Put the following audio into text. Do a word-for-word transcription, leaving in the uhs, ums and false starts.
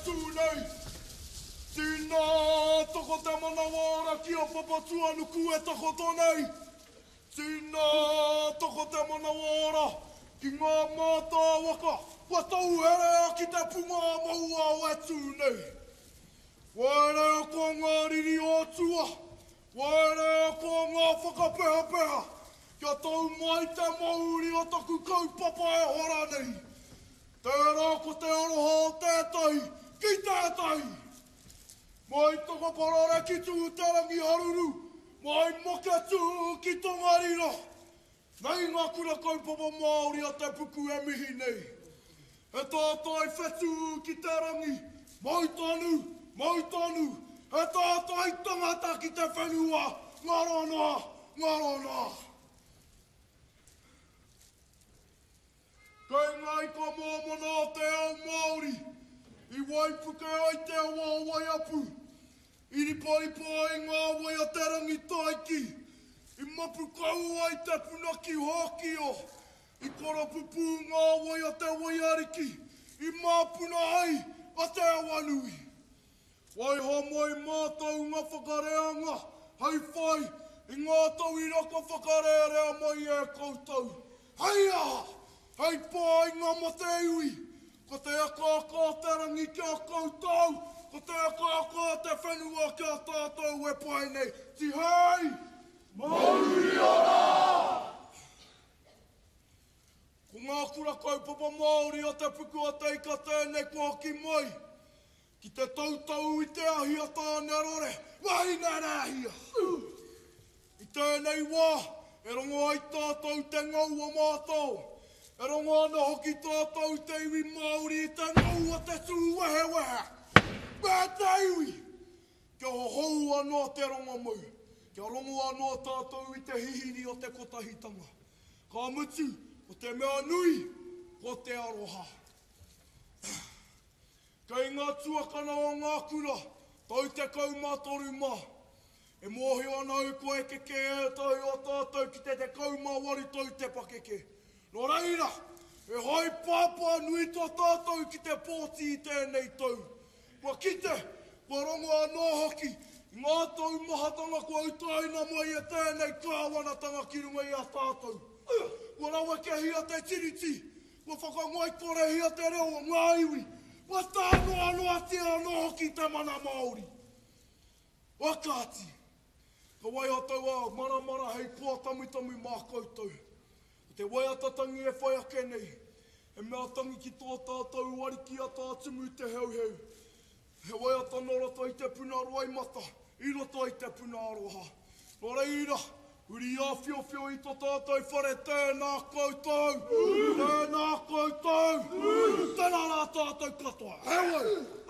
tū nei. Tīnā toko te manawa ora ki a Papatūānuku e takoto nei. Tīnā toko te manawa ora ki ngā mātāwaka kua tauherea ki te punga mauao e tū nei. Waerea ko ngā riri o tua, waerea ko ngā whakapehapeha, kia tau mai te mauri o taku kaupapa e hora nei. Tērā ko te aroha o tētahi ki tētahi. Mai Takaparare ki Tūterangi haruru, mai Maketū ki Tongariro. Nei ngā kura kaupapa Māori a te puku e mihi nei. He tātai whetū ki te rangi, mau tonu, mau tonu, he tātai tangata ki te whenua, ngaro noa, ngaro noa. Kei ngā ika mōmona o te ao Māori, i waipuke ai te awa o Waiapu, i riparipa ai ngā wai a te Rangitaiki, i mapu kau ai te puna ki Hōkio, i koropupū ngā wai a te Waiariki, i māpuna ai a Te Awanui. Waiho mai mātou ngā whakareanga hei whai i ngā tauira kua whakarērea mai e koutou. Hei aha! Hei painga mō te iwi, ko te akaaka o te rangi ki a koutou, ko te akaaka o te whenua ki a tātou e pae nei. Tihei! Mauri ora! Ko ngā kura kaupapa Māori o Te Puku o Te Ika tēnei kua hoki mai ki te toutou i te ahi a Tānerore, wahine rēhia! I tēnei wā, e rongo ai tātou te ngau o mātou, e rongo ana hoki tātou te iwi Māori i te ngau o te tūwehewehe me te iwi. Kia hohou anō te rongomau, kia rongo anō tātou i te hihiri o te kotahitanga. Ka mutu, ko te mea nui, ko te aroha. Kei ngā tuakana o ngā kura, tau tekau mā toru mā. E mōhio ana au kua eke kē ētahi o tātou ki te tekau mā waru tau te pakeke. Nō reira, he haepāpā nui tō tātou ki te pōti i tēnei tau. Kua kite, kua rongo anō hoki i ngā taumahatanga kua utaina mai e tēnei kāwanatanga ki runga i a tātou. Kua rawekehia te Tiriti, Kua whakangoikorehia te reo o ngā iwi, kua tānoanoatia anō hoki te mana Māori. Ā kāti, ka waiho taua maramara hei koa tamutamu mā koutou. Ko te waiata tangi e whai ake nei, he mea tangi ki tō tātou Ariki a Tā Tumu Te Heuheu. He waiata nō roto i te puna roimata, i roto i te puna aroha. Nō reira, huri āwhiowhio i to tātou whare, tēnā koutou, tēnā koutou, tēnā rā tātou katoa. Heoi!